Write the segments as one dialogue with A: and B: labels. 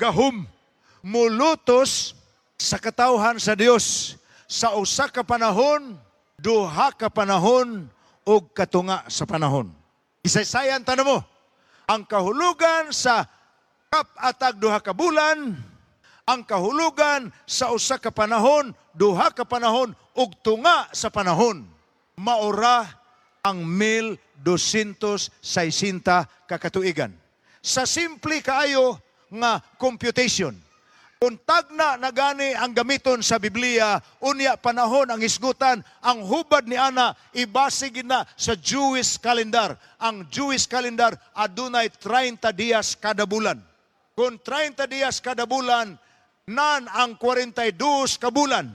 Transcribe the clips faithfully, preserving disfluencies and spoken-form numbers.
A: Gahom mulutos sa katawhan sa Dios sa usa ka panahon, duha ka panahon ug katunga sa panahon. Isaysayan ta mo ang kahulugan sa kap-atag duha ka bulan, ang kahulugan sa usa ka panahon, duha ka panahon ug tunga sa panahon. Maura ang mil dosyentos sesenta ka katuigan. Sa simple kaayo nga computation, kung tagna na gani ang gamiton sa Biblia, unya panahon ang hisgutan, ang hubad ni ana ibase gid na sa Jewish calendar. Ang Jewish calendar adunay treinta dias kada bulan. Kung treinta dias kada bulan, nan ang kwarenta y dos ka bulan,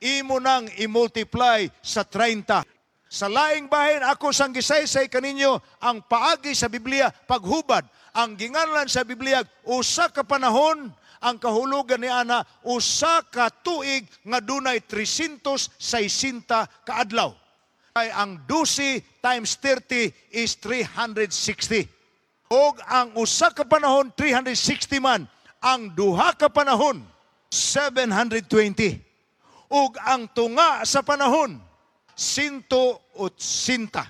A: imo nang i-multiply sa treinta. Sa laing bahin, ako sang gisaysay kaninyo ang paagi sa Biblia paghubad. Ang ginganlan sa Biblia usa ka panahon, ang kahulugan ni ana usa ka tuig nga dunay trescientos sesenta ka adlaw. Kay ang twelve times thirty is three hundred sixty. Og ang usa ka panahon three hundred sixty man, ang duha ka panahon seven hundred twenty. Ug ang tunga sa panahon one eighty.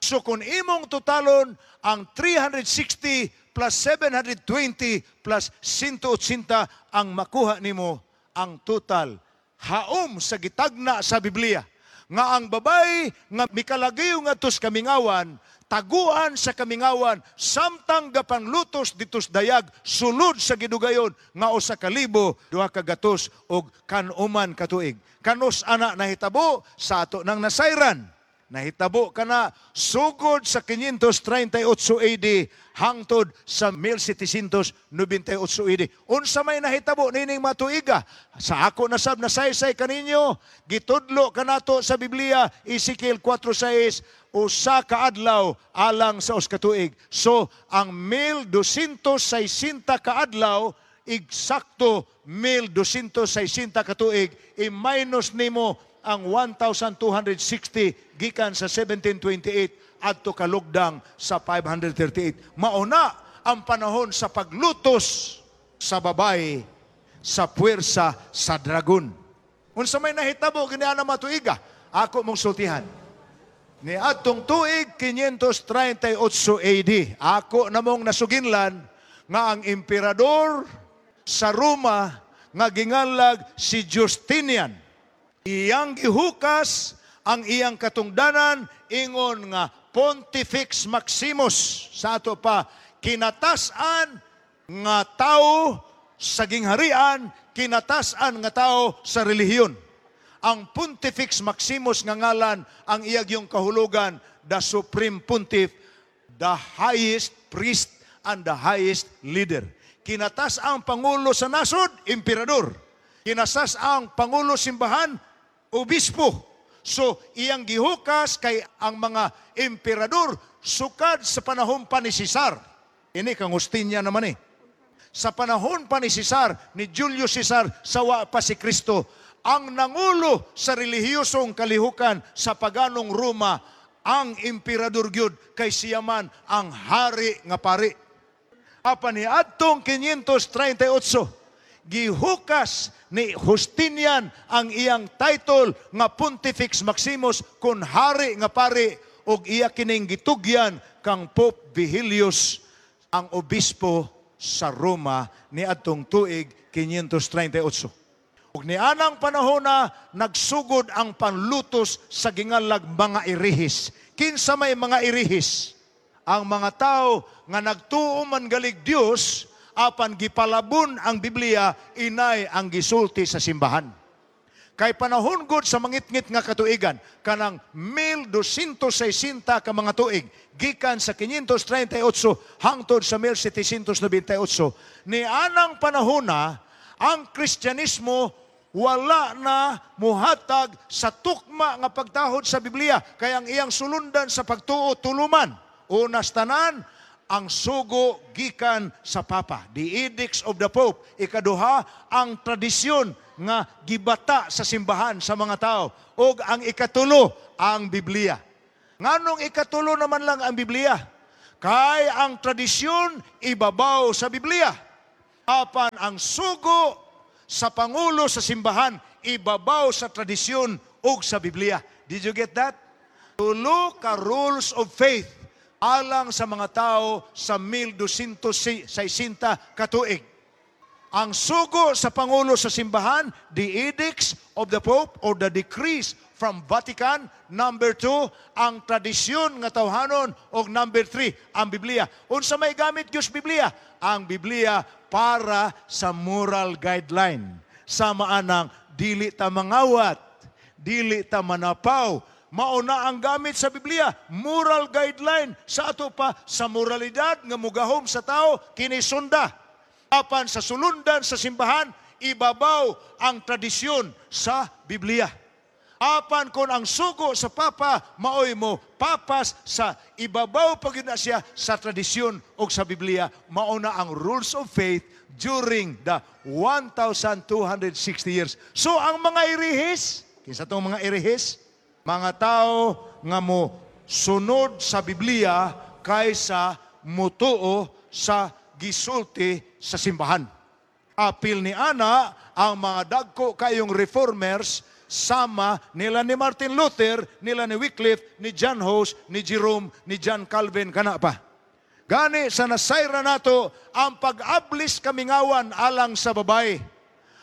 A: So kung imong totalon ang three hundred sixty plus seven hundred twenty plus one eighty, ang makuha nimo ang total haom sa gitagna sa Biblia nga ang babay nga mikalagiw ngadto sa kamingawan, taguan sa kamingawan samtang gapanglutos ditos dayag sulod sa gidugayon nga usa ka libo duha ka gatos og kan-uman ka tuig. Kanus ana nahitabo sa ato nang nasayran? Nahitabo kana sugod sa five thirty-eight A D hangtod sa seventeen ninety-eight A D. Unsa may nahitabo nining matuiga? Sa ako nasab nasaysay kaninyo, gitudlo kanato sa Biblia, Ezekiel four six, usa ka adlaw alang sa usa ka tuig. So ang mil dosyentos sesenta ka adlaw eksakto mil dosyentos sesenta ka tuig, i-minus nimo ang one thousand two hundred sixty gikan sa seventeen twenty-eight adto kalugdang sa five thirty-eight. Mauna ang panahon sa paglutos sa babay sa puwersa sa dragon. Unsa may nahitabo gini ana matuiga? Ako mong sultihan. Ni adtong tuig five thirty-eight A D, ako namong nasuginlan nga ang emperador sa Roma nga ginganlag si Justinian, iyang gihukas ang iyang katungdanan ingon nga Pontifex Maximus, sa ato pa kinatas-an nga tao sa gingharian, kinatas-an nga tao sa relihiyon. Ang Pontifex Maximus nga ngalan, ang iyag yung kahulugan, the Supreme Pontiff, the highest priest and the highest leader. Kinatas ang pangulo sa nasod, emperador. Kinatas ang pangulo simbahan, obispo. So, iyang gihukas kay ang mga emperador sukad sa panahon pa ni Cesar. Ini kang Justinian naman eh. Sa panahon pa ni Cesar, ni Julius Caesar, sawa pa si Kristo, ang nangulo sa relihiyosong kalihukan sa paganong Roma, ang emperador gyud, kay siya man ang hari nga pari. Apan ni adtong five thirty-eight, gihukas ni Justinian ang iyang title nga Pontifex Maximus kun hari nga pari og iya kining gitugyan kang Pope Vigilius, ang obispo sa Roma ni adtong tuig five thirty-eight. Ug nianang panahon na nagsugod ang panlutos sa gingalag mga erehis. Kinsa may mga erehis? Ang mga tao nga nagtuo man galig Dios apan gipalabon ang Biblia, inay ang gisulti sa simbahan. Kay panahon gud sa mangitngit nga katuigan, kanang mil dosyentos sesenta ka mga tuig, gikan sa five thirty-eight hangtod sa seventeen ninety-eight, ni anang panahon na ang Kristyanismo wala na muhatag sa tukma nga pagtahod sa Biblia, kay ang iyang sulundan sa pagtuo tuluman. Unas tanan, ang sugo gikan sa Papa, the edicts of the Pope. Ikaduha, ang tradisyon nga gibata sa simbahan sa mga tao. Og ang ikatulo, ang Biblia. Nganong ikatulo naman lang ang Biblia? Kay ang tradisyon ibabaw sa Biblia. Apan ang sugo sa pangulo sa simbahan ibabaw sa tradisyon ug sa Biblia. Did you get that? Tulo ka rules of faith alang sa mga tao sa mil dosyentos sesenta katuig. Ang sugo sa pangulo sa simbahan, the edicts of the Pope or the decrees from Vatican. Number two, ang tradisyon nga tawhanon. O number three, ang Biblia. Unsa may gamit gyud sa Biblia? Ang Biblia para sa moral guideline. Sama anang dili ta mangawat, dili ta manapaw, mao na ang gamit sa Biblia, moral guideline sa ato pa sa moralidad nga mugahom sa tao kini sunda. Apan sa sulundan sa simbahan, ibabaw ang tradisyon sa Biblia. Apan kung ang sugo sa Papa maoy mo papas sa ibabaw pa gyud na siya sa tradisyon o sa Biblia, mao na ang rules of faith during the one thousand two hundred sixty years. So ang mga erehis, kinsa tong mga erehis? Mga tao nga mo sunod sa Biblia kaysa mutuo sa gisulti sa simbahan. Apil ni ana ang mga dagko kayong reformers sama nila ni Martin Luther, nila ni Wycliffe, ni John Hus, ni Jerome, ni John Calvin kana pa. Gani sa nasayra nato ang pag-ablis kamingawan alang sa babae.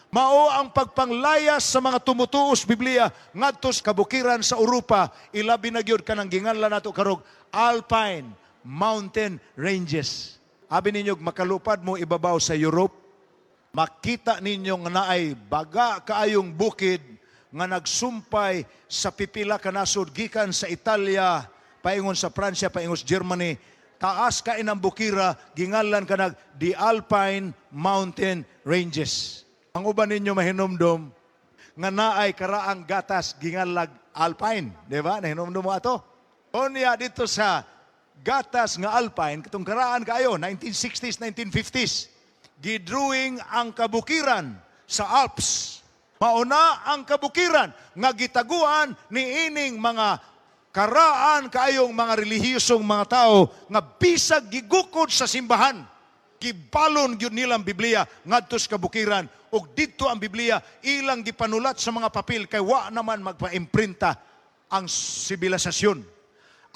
A: Mao ang pagpanglayas sa mga tumutuos Biblia ngadto sa kabukiran sa Europa, ilabi na gyud kanang ginganlan nato karong Alpine Mountain Ranges. Abi ninyo makalupad mo ibabaw sa Europe, makita ninyo nga naay baga kaayong bukid nga nagsumpay sa pipila ka nasod gikan sa Italia paingon sa Pransya paingon sa Germany. Taas kay ang bukira, gingalan kanag the Alpine Mountain Ranges. Ang uban ninyo mahinumdom nga naay karaang gatas ginganlag Alpine, di ba? Nahinumdom mo ato? Unya dito sa gatas nga Alpine, katong karaan kaayo, nineteen sixties, nineteen fifties, gidrawing ang kabukiran sa Alps. Mauna ang kabukiran nga gitaguan ni ining mga karaan kaayong mga relihiyosong mga tao nga bisag gigukod sa simbahan, gibalon gyud nilang Biblia ngadto sa kabukiran ug didto ang Biblia ilang gipanulat sa mga papel kay wa naman magpa-imprinta ang sibilisasyon.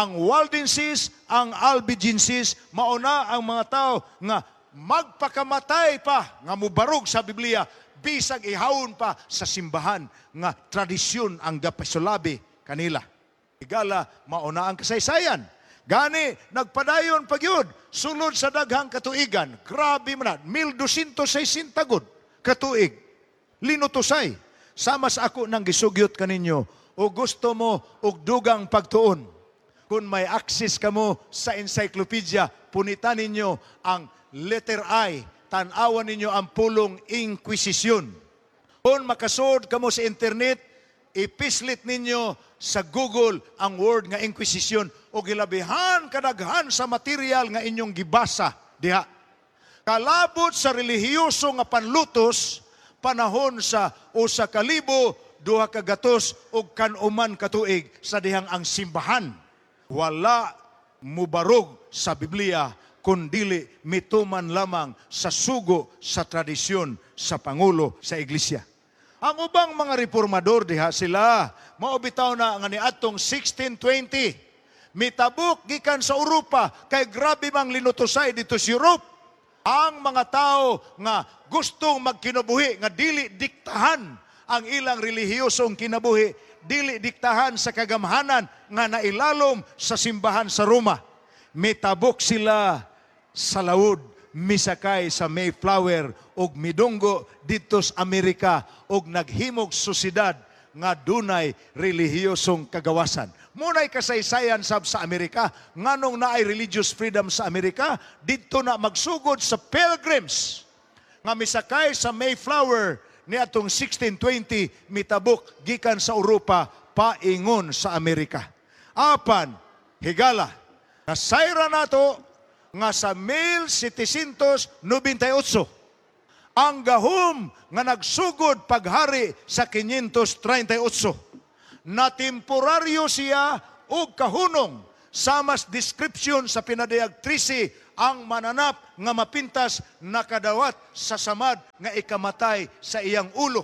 A: Ang Waldenses, ang Albigenses, mauna ang mga tao nga magpakamatay pa nga mubarog sa Biblia bisag ihawon pa sa simbahan nga tradisyon ang gapasulabi kanila. Higala, mauna ang kasaysayan. Gani, nagpadayon pa gyud sulod sa daghang katuigan. Grabe man na, mil dosyentos sesenta gud katuig. Linutosay. Sama sa ako nang gisugyot kaninyo, o gusto mo og dugang pagtuon. Kung may access kamo sa encyclopedia, punitan ninyo ang letter I, tan-awan ninyo ang pulong Inquisition. Kung makasud kamo sa internet, ipislit ninyo sa Google ang word nga Inquisition o gilabihan kadaghan sa material nga inyong gibasa diha. Kalabot sa relihiyoso nga panlutos panahon sa usa ka libo duha ka gatos ug kanuman katuig sa dihang ang simbahan wala mubarog sa Biblia kundili mituman lamang sa sugo sa tradisyon sa pangulo sa iglesia. Ang ubang mga reformador diha sila, mao bitaw na nga niadtong sixteen twenty mitabok gikan sa Europa kay grabe mang linutosay dito sa Europe. Ang mga tao nga gustong magkinabuhi nga dili diktahan ang ilang relihiyosong kinabuhi, dili diktahan sa kagamhanan nga nailalom sa simbahan sa Roma. Mitabok sila sa lawod, misakay sa Mayflower ug midunggo didto sa Amerika ug naghimog sosyedad nga dunay relihiyosong kagawasan. Munay kasaysayan sab sa Amerika, nganong naay religious freedom sa Amerika, didto na magsugod sa Pilgrims nga misakay sa Mayflower ni atong sixteen twenty mitabok gikan sa Europa paingon sa Amerika. Apan higala, nasayra nato nga sa mil setensyentos nobentay otso ang gahom nga nagsugod paghari sa kinyintos trentay otso na temporaryo siya og kahunong, samas description sa Pinadayag trese ang mananap nga mapintas nakadawat sa samad nga ikamatay sa iyang ulo.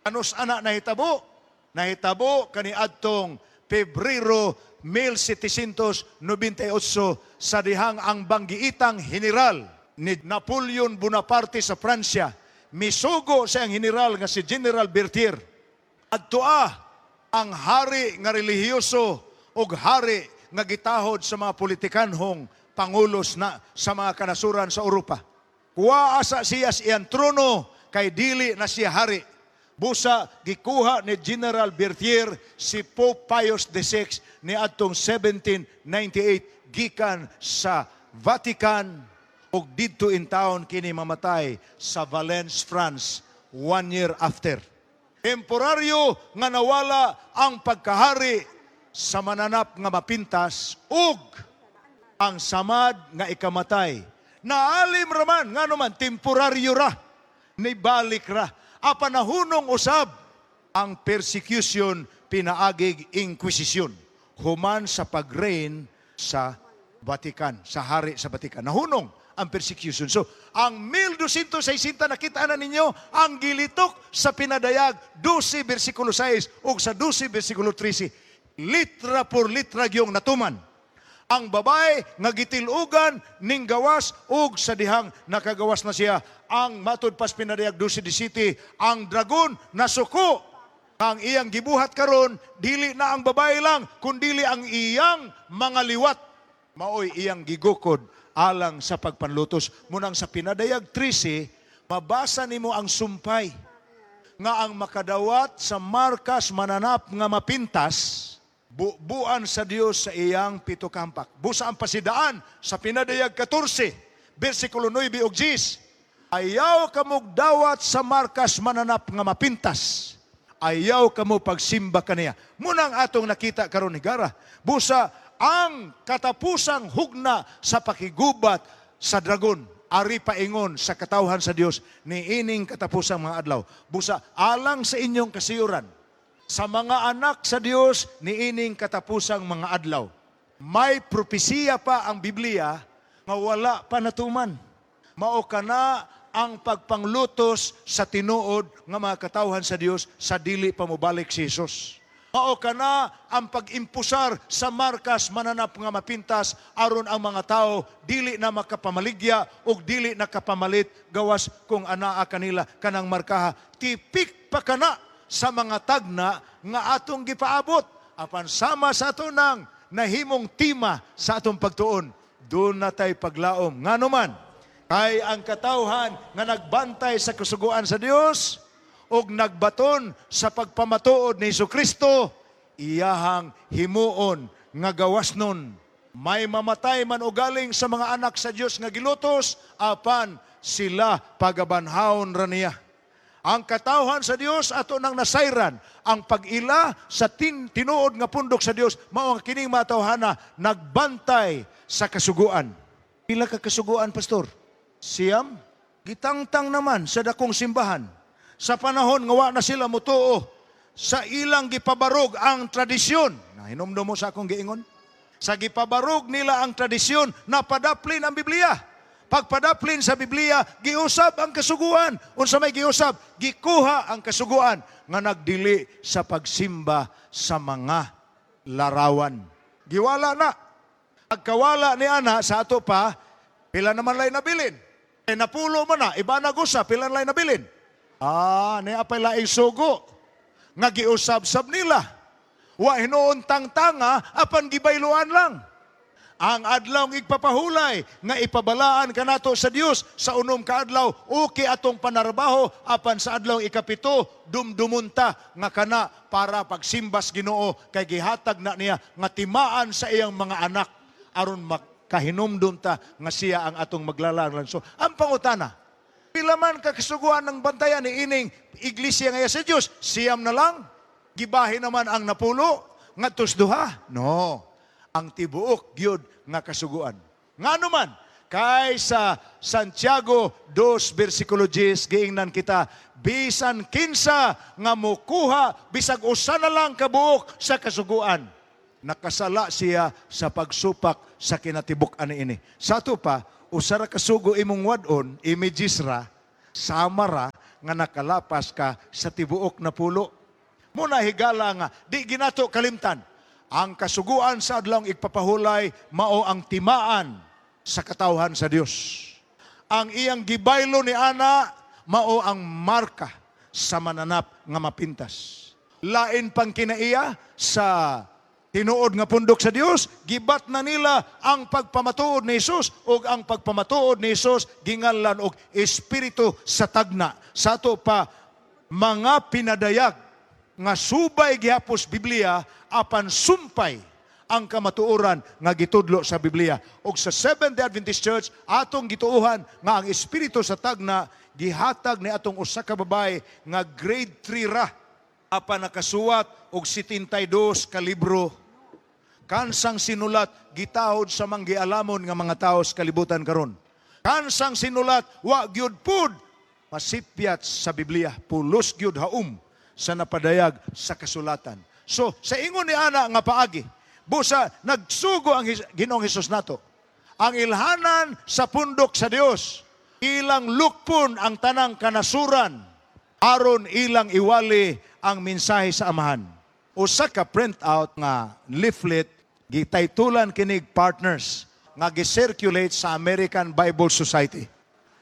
A: Kanus-a ana nahitabo? Nahitabo kaniadtong Pebrero mil setensyentos nobentay otso sa dihang ang banggiitang general ni Napoleon Bonaparte sa Pransya misugo sa iyang general nga si General Berthier. Adtoa ang hari nga relihiyoso ug hari nga gitahod sa mga politikanhong pangulos na sa mga kanasuran sa Europa. Kuha asa siya sa iyang trono kay dili na siya hari. Busa gikuha ni General Berthier si Pope Pius the Sixth ni adtong seventeen ninety-eight gikan sa Vatican ug didto in town kini mamatay sa Valence, France, one year after. Temporaryo nga nawala ang pagkahari sa mananap nga mapintas ug ang samad nga ikamatay. Naalim raman, nga naman, temporaryo ra, nibalik ra. Apan nahunong usab ang persecution pinaagig inquisition human sa pag-reign sa Vatican, sa hari sa Vatican. Nahunong ang persecution. So, ang mil dosyentos sesenta, nakita na ninyo ang gilitok sa Pinadayag dose versikulo sais ug sa dose versikulo trese. Litra por litra gyung natuman. Ang babae nga gitilugan ning gawas ug sa dihang nakagawas na siya, ang matud pas Pinadayag dose disasete, ang dragon nasuko. Ang iyang gibuhat karon, dili na ang babae lang kundili ang iyang mga liwat maoy iyang gigukod alang sa pagpanlutos. Munang sa Pinadayag trese, mabasa nimo ang sumpay nga ang makadawat sa markas mananap nga mapintas, bubuan sa Dios sa iyang pito ka hampak. Busa ang pasidaan sa Pinadayag katorse, versikulo nuebe ug diyes. Ayaw kamog dawat sa markas mananap nga mapintas. Ayaw kamo pagsimba kaniya. Munang atong nakita karon, higara. Busa ang katapusang hugna sa pakigubat sa dragon ari paingon sa katawhan sa Dios ni ining katapusang mga adlaw. Busa alang sa inyong kasiyuran, sa mga anak sa Dios ni ining katapusang mga adlaw, may propesiya pa ang Biblia nga wala pa natuman. Mao kana ang pagpanglutos sa tinuod nga mga katawhan sa Dios sa dili pa mobalik si Jesus. Mao kana ang pag-impusar sa markas mananap nga mapintas aron ang mga tao dili na makapamaligya ug dili na kapamalit gawas kung anaa kanila kanang markaha. Tipik pa kana sa mga tagna nga atong gipaabot, apan sama sa ato nang nahimong tema sa atong pagtuon, duna tay paglaom. Ngano man? Kay ang katawhan nga nagbantay sa kasuguan sa Dios ug nagbaton sa pagpamatuod ni Kristo, iyahang himuon nga gawas nun. May mamatay man o galing sa mga anak sa Dios nga gilutos, apan sila pagabanhawon ra niya. Ang katawhan sa Dios, ato nang nasayran ang pag-ila sa tin, tinuod nga pundok sa Dios, mao ang kining mga tawhana nagbantay sa kasuguan. Pila ka kasuguan, pastor? Siyam. Gitangtang naman sa dakong simbahan. Sa panahon nga wa na sila mutuo, sa ilang gipabarog ang tradisyon. Nahinumdum mo sa akong giingon? Sa gipabarog nila ang tradisyon, napadaplin ang Biblia. Pagpadaplin sa Biblia, giusab ang kasuguan. Unsa may giusab? Gikuha ang kasuguan nga nagdili sa pagsimba sa mga larawan. Giwala na. Pagkawala ni ana sa ato pa, pila naman lay nabilin? E napulo man na, iba na gusa, pila na lay nabilin? Ah, ni apay laing sugo nga giusab-sab nila. Wa hinuon tangtanga, apan gibayluan lang. Ang adlaw ng igpapahulay nga ipabalaan kanato sa Dios sa unom ka adlaw, okay atong panarbaho, apan sa adlaw ikapito, dumdumunta nga kana para pagsimbas Ginoo kay gihatag na niya nga timaan sa iyang mga anak aron makahinumdum ta nga siya ang atong maglalang. So, ang pangutana, pila man ka kasuguan ng bantayan ni ining iglesia nga sa Dios? Siyam na lang? Gibahin naman ang napulo ngadtos duha? No. Ang tibuok gyud nga kasuguan. Ngano man? Kay sa Santiago dos versikulo diyes, giingnan kita, bisan kinsa nga mukuha bisag usa na lang kabuok sa kasuguan, nakasala siya sa pagsupak sa kinatibuk-an niini. Sa ato pa, Usa ra ka sugo imong wad-on, images ra, sama ra nga nakalapas ka sa tibuok na pulo. Muna higala nga di ginato kalimtan. Ang kasuguan sa adlawng igpapahulay mao ang timaan sa katawhan sa Dios. Ang iyang gibaylo ni ana mao ang marka sa mananap nga mapintas. Lain pang kinaiya sa tinuod nga pundok sa Dios, gibat na nila ang pagpamatuod ni Jesus ug ang pagpamatuod ni Jesus ginganlan og espiritu sa tagna. Sa ato pa mga pinadayag nga subay gihapos Biblia apan sumpay ang kamatuoran nga gitudlo sa Biblia. Og sa Seventh-day Adventist Church atong gituohan nga ang espiritu sa tagna gihatag ni atong usa ka babae nga grade three ra apan nakasuwat og sittenta y dos ka libro. Kansang sinulat gitahod sa manggialamon nga mga tao sa kalibutan karon. Kansang sinulat wa gyud pud masipyat sa Biblia, pulos gyud haum sa napadayag sa kasulatan. So sa ingon ni ana nga paagi, busa nagsugo ang His- Ginoong Hesus nato. Ang ilhanan sa pundok sa Dios, ilang lukpon ang tanang kanasuran aron ilang iwali ang mensahe sa Amahan. Usa ka print out nga leaflet gitaytulan kinig "Partners" nga gi-circulate sa American Bible Society.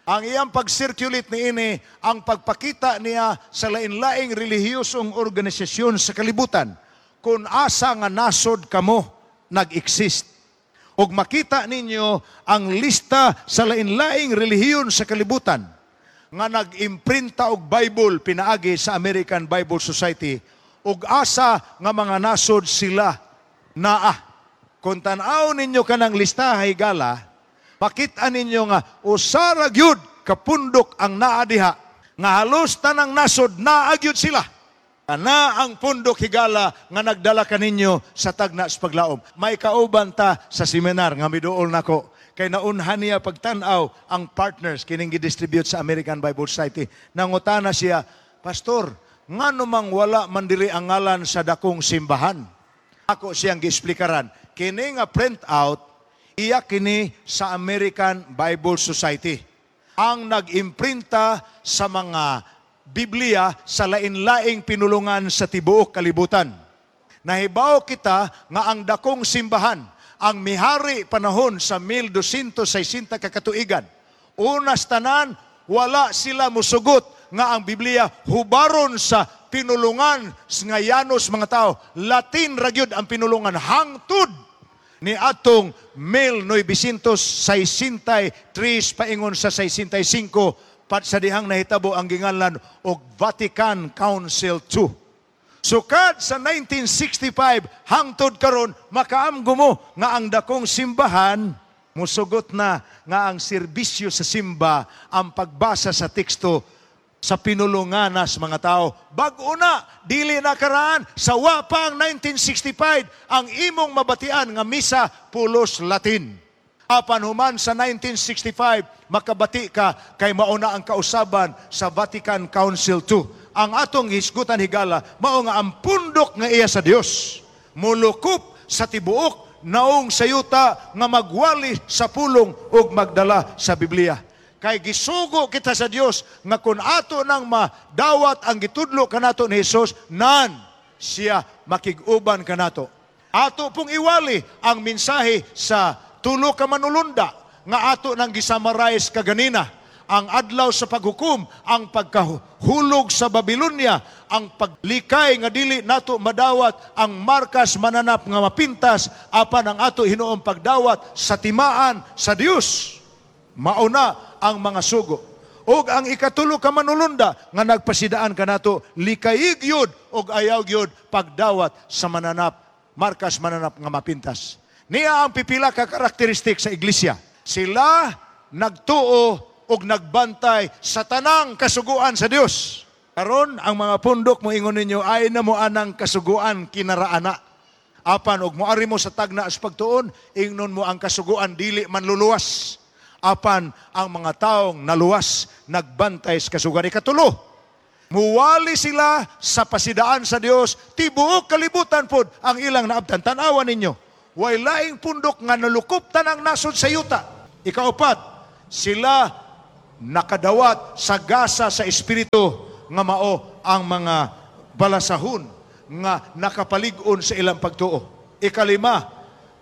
A: Ang iyang pag-circulate niini ang pagpakita niya sa lain-laing relihiyosong organisasyon sa kalibutan kung asa nga nasod kamo nag-exist. Og makita ninyo ang lista sa lain-laing relihiyon sa kalibutan nga nag-imprinta og Bible pinaagi sa American Bible Society ug asa nga mga nasod sila naa. Kung tan-aw ninyo kanang listaha higala, makita ninyo nga usa ra gyud kapundok ang naa diha nga halos tanang nasod naa gyud sila. Kana ang pundok higala nga nagdala kaninyo sa tagna sa paglaom. May kauban ta sa seminar nga miduol nako kay naunhan niya pagtan-aw ang "Partners" kining gidistribute sa American Bible Society. Nangutana siya, "Pastor, ngano mang wala man diri ang ngalan sa dakong simbahan?" Ako siyang giesplikaran. Kini nga print out, iya kini sa American Bible Society. Ang nag-imprinta sa mga Biblia sa lain-laing pinulungan sa tibuok kalibutan. Nahibaw kita nga ang dakong simbahan, ang mihari panahon sa mil dosyentos sesenta ka katuigan. Unas tanan, wala sila musugot nga ang Biblia hubaron sa pinulungan nga yanos mga tao. Latin ra gyud ang pinulungan hangtod ni atong mil noybesyentos sesenta y tres paingon sa sesenta y singko pat sa dihang nahitabo ang ginganlan og Vatican Council two. Sukad sa nineteen sixty-five hangtod karon makaamgo mo nga ang dakong simbahan musugot na nga ang serbisyo sa simba ang pagbasa sa teksto sa pinulunganas mga tao. Bag-o na, dili na karaan, sa wa pa ang nineteen sixty-five, ang imong mabatian nga misa pulos Latin. Apan human sa nineteen sixty-five, makabati ka kay mauna ang kausaban sa Vatican Council two. Ang atong hisgutan higala, mao nga ang pundok nga iya sa Dios mulukop sa tibuok naong sa yuta nga magwali sa pulong ug magdala sa Biblia. Kay gisugo kita sa Dios nga kung ato nang madawat ang gitudlo kanato ni Hesus, nan siya makig-uban kanato. Ato pong iwali ang mensahe sa tulo ka manulunda nga ato nang gisummarize kaganina. Ang adlaw sa paghukom, ang pagkahulog sa Babylonia, ang paglikay nga dili nato madawat ang markas mananap nga mapintas, apan ang ato hinuong pagdawat sa timaan sa Dios. Mauna ang mga sugo. Og ang ikatulo ka manulunda nga nagpasidaan kanato, likayig yun og ayaw gyud pagdawat sa mananap, markas mananap nga mapintas. Niya ang pipila ka karakteristik sa iglesia. Sila nagtuo og nagbantay sa tanang kasuguan sa Dios. Karon ang mga pundok mo ingon ninyo ay na mo anang kasuguan kinaraana. Apan og moari mo sa tagna sa pagtuon, ingnon mo ang kasuguan dili man luluwas. Apan ang mga taong naluwas nagbantay sa kasuguan. Ikatulo, muwali sila sa pasidaan sa Dios, tibuok kalibutan pod ang ilang naabtan. Tan-awan ninyo, way laing pundok nga nalukop tanang nasod sa yuta. Ikaupat, Sila nakadawat sa gasa sa Espiritu nga mao ang mga balasahon nga nakapalig-on sa ilang pagtuo. Ikalima,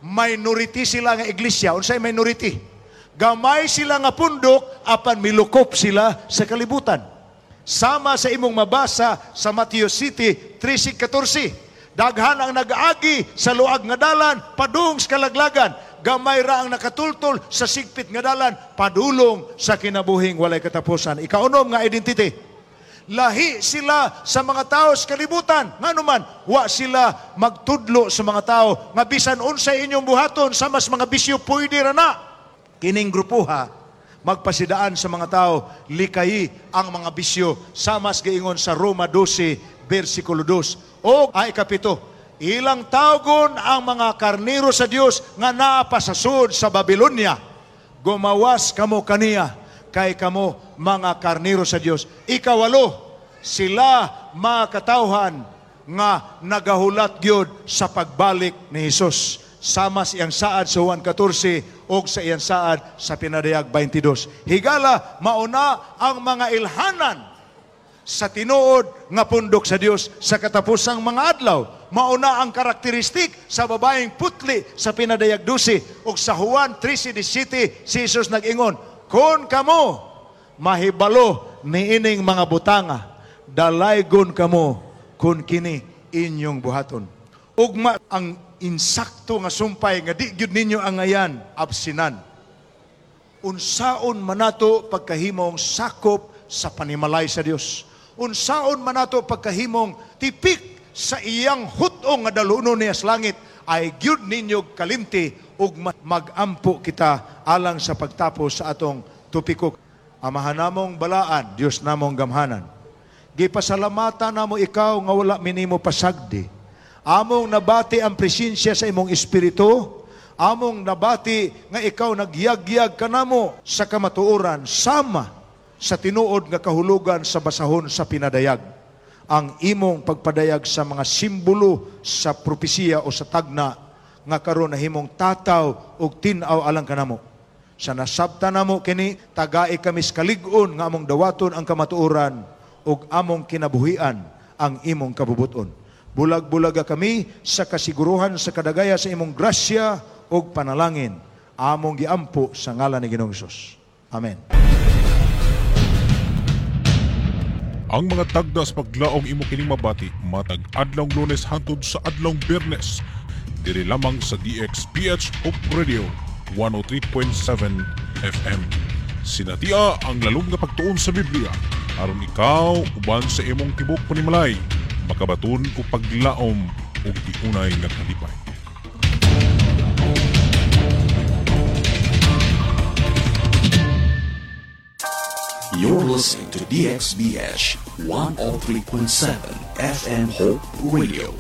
A: minority sila nga iglesia. Unsay minority? Gamay sila nga pundok apan milukop sila sa kalibutan. Sama sa imong mabasa sa Mateo Siyete, trese, katórse. Daghan ang nagaagi sa luag nga dalan padung sa kalaglagan. Gamay ra ang nakatultol sa sigpit nga dalan padulong sa kinabuhing walay katapusan. Ikaunom nga identity. Lahi sila sa mga tao sa kalibutan. Ngano man, wa sila magtudlo sa mga tao nga bisan unsay inyong buhaton sa mas mga bisyo, pwede ra na. Kining grupuha magpasidaan sa mga tao likayi ang mga bisyo, sama sa giingon sa Roma dose versikulo dos. O ay ikapito, ilang tawgon ang mga karniro sa Dios nga naa pa sa sud sa Babylonia. Gumawas kamo kaniya kay kamo mga karniro sa Dios. Ikawalo, sila mga katawhan nga nagahulat gyud sa pagbalik ni Hesus. Sama sa iyang saad sa Juan katórse o sa iyang saad sa Pinadayag beinte dos. Higala, mauna ang mga ilhanan sa tinuod nga pundok sa Dios sa katapusang mga adlaw. Mauna ang karakteristik sa babaeng putli sa Pinadayag dose ug sa Juan trese disasete, si Jesus nag-ingon, "Kon kamo mahibalo niining mga butanga, dalaygon kamo kun kini inyong buhaton." Ugma ang insakto nga sumpay nga di gyud ninyo angayan absinan. Unsaon man nato pagkahimong sakop sa panimalay sa Dios? Unsaon man nato pagkahimong tipik sa iyang hut-ong nga dalunon niya sa langit? Ay gyud ninyo kalimti ug ma- mag-ampo kita alang sa pagtapos sa atong topiko. Amahan namong balaan, Dios namong gamhanan. Gipasalamatan namo ikaw nga wala mi nimo pasagdi. Among nabati ang presensya sa imong Espiritu, among nabati nga ikaw nagyagyag kanamo sa kamatuoran sama sa tinuod nga kahulugan sa basahon sa Pinadayag. Ang imong pagpadayag sa mga simbolo sa propesiya o sa tagna nga karon nahimong tataw ug tin-aw alang kanamo. Sa nasabtan namo kini, tagai kami sa kalig-on nga among dawaton ang kamatuoran ug among kinabuhian ang imong kabubuton. Bulag-bulaga kami sa kasiguruhan sa kadagaya sa imong grasya ug panalangin. Among giampo sa ngalan ni Ginoong Hesus. Amen.
B: Ang mga tagda sa paglaom, imo kining mabati matag adlawng Lunes hangtod sa adlawng Biyernes. Diri lamang sa D X B H Hope Radio one oh three point seven F M. Sinatia ang lalom nga pagtuon sa Biblia aron ikaw uban sa imong tibok panimalay makabaton og paglaom ug tiunay nga kalipay.
C: You're listening to D X B H one oh three point seven F M Hope Radio.